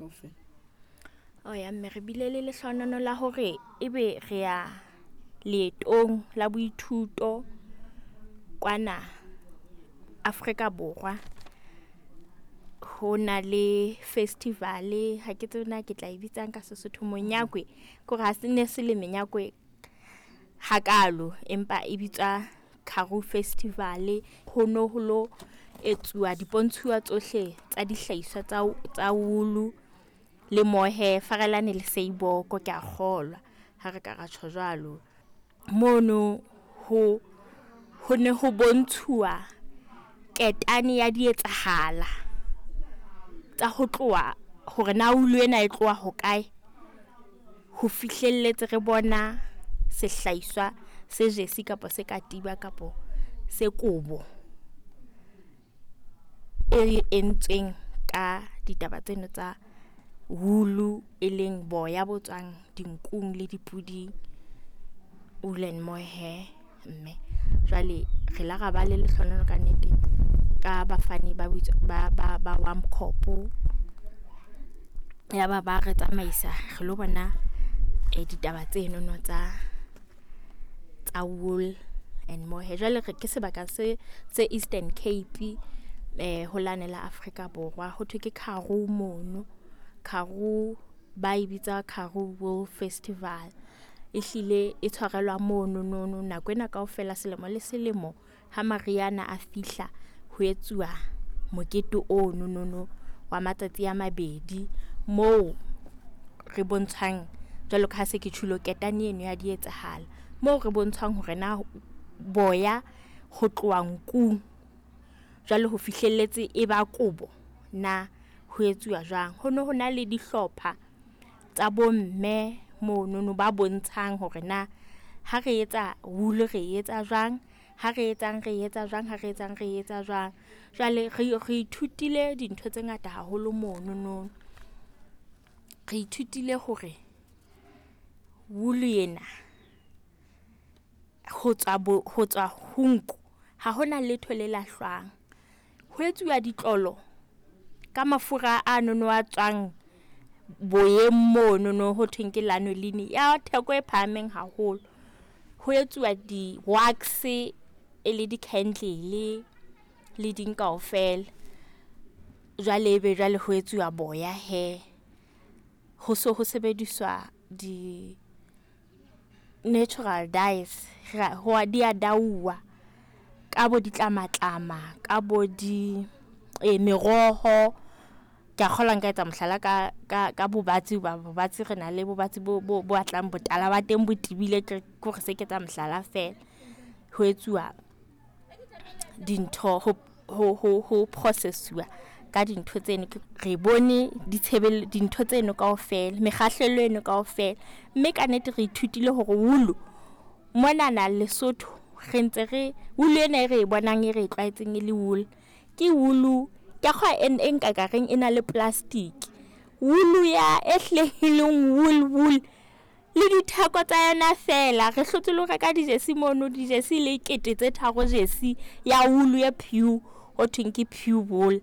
Kaofela. O ya mme re bile le lehlohonolo la hore ebe re ya leetong la boithuto kwana Afrika Borwa. Ho na le festival ha ke tsebe na ke tla e bitsang ka Sesotho monyakwe ke hore ha se ne se le menyakwe hakalo, empa e bitswa Karoo Festival. Ho no ho lo etsuwa di pontshuwa tsohle tsa dihlahiswa tsa tsa woolo le mohair. Farelane le seiboko ke a kgolwa ha re ka ra tjho jwalo. Mono ho ho ne ho bontshuwa ketane ya di etsahala tsa ho tloha hore na ulu ena e tloha hokae, ho fihlelletse re bona sehlahiswa se jesi kapa se katiba kapo se kobo e entsweng ka ditaba tseno tsa woolo, e leng boya bo tswang dinkung le dipuding. Wool and mohair mme jwale re la ra ba le lehlohonolo ka nnete ka bafani ba ba ba ba WARMCORP. Yaba ba re tsamaisa re lo bona ditaba tsenono tsa tsa wool and mohair. Jwale re ke sebaka se se Eastern Cape ho lane la Afrika Borwa. Ho thwe ke Karoo mono, Karoo ba e bitsa Karoo Wool Festival. Ehlile e tshwarelwa mono nono nako ena kaofela selemo le selemo ha mariha ana a fihla ho etsuwa mokete ono nono wa matsatsi a mabedi moo re bontshwang jwalo ka ha se ke tjhulo ketane eno ya di etsahala. Moo re bontshang hore na boya ho tloha nkung jwale ho fihlelletse e ba kobo na ho etsuwa jwang. Ho no ho na le dihlopha tsa bomme monono ba bontshang hore na ha re etsa wool re etsa jwang, ha re etsang re etsa jwang, ha re etsang re etsa jwang. Jwale re re ithutile dintho tse ngata haholo monono. Re ithutile hore wool ena ho tswa bo ho tswa ho nku ha hona letho le lahlwang. Ho etsuwa ditlolo ka mafura ano no a tswang boyeng monono ho thweng ke lanolin ya theko e phahameng haholo. Ho etsuwa di wax e le di candle le ding kaofela. Jwale ebe jwale ho etsuwa boya hee. Ho so ho sebediswa di natural dyes di a dauwa ka bo ditlamatlama ka bo di meroho. Ke a kgolwa nka etsa mohlala ka ka ka bobatsi hoba bobatsi re na le bobatsi bo bo batlang botala ba teng bo tibile ke hore se ke etsa mohlala fela. Ho etsuwa dintho ho ho ho ho process-uwa ka dintho tseno. Re bone di dintho tseno kaofela, mekgahlelo eno kaofela mme ka nnete re ithutile hore woolo monana Lesotho re ntse re wool ena e re e bonang e re e tlwaetseng e le wool. Ke wool ke a kgolwa e nka ka reng e na le plastic. Wool ya e hlileng e leng wool wool le ditheko tsa yona fela re hlotse le ho reka di jersey mono di jersey le kete tse tharo jersey ya wool e pure ho thweng ke pure wool.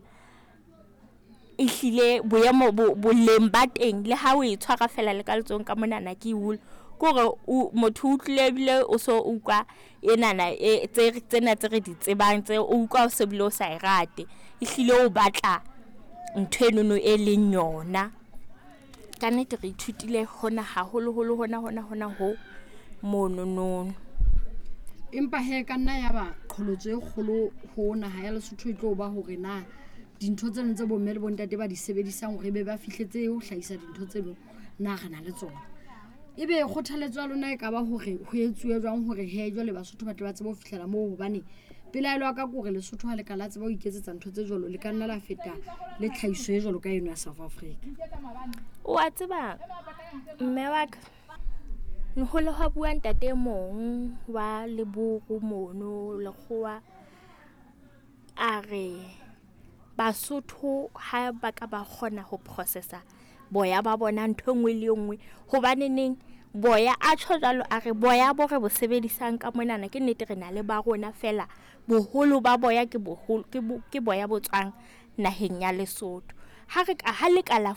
Ehlile boemo bo boleng ba teng le ha o e tshwara fela le ka letsohong ka monana ke wool. Ke hore o motho o utlwile ebile o so utlwa enana e tse tsena tse re di tsebang tse o utlwa o se bile o sa e rate. Ehlile o batla ntho enono e leng yona. Ka nnete re ithutile hona haholoholo hona hona hona ho monono. Empa hee ka nna ya ba qholotso e kgolo ho naha ya Lesotho e tlo ba hore na dintho tseno tse bomme le bontate ba di sebedisang hore ebe ba fihletse ho hlahisa dintho tseno na re na le tsona. Ebe kgothaletso ya lona e ka ba hore ho etsuwe jwang hore hee jwale Basotho ba tle ba tsebe ho fihlela moo? Hobane pelaelo ya ka ke hore Lesotho ha le ka la tseba ho iketsetsa ntho tse jwalo, le ka nna la feta le tlhahiso e jwalo ka eno ya South Africa. O a tseba mme wa ka, hole hwa bua ntate e mong wa leburu mono lekgowa. A re Basotho ha ba ka ba kgona ho process-a boya ba bona ntho e nngwe le e nngwe. Hobaneneng boya a tjho jwalo, a re boya bo re bo sebedisang ka monana ke nnete re na le ba rona fela boholo ba boya ke boholo ke boya bo tswang naheng ya Lesotho. Ha re ka ha le ka la .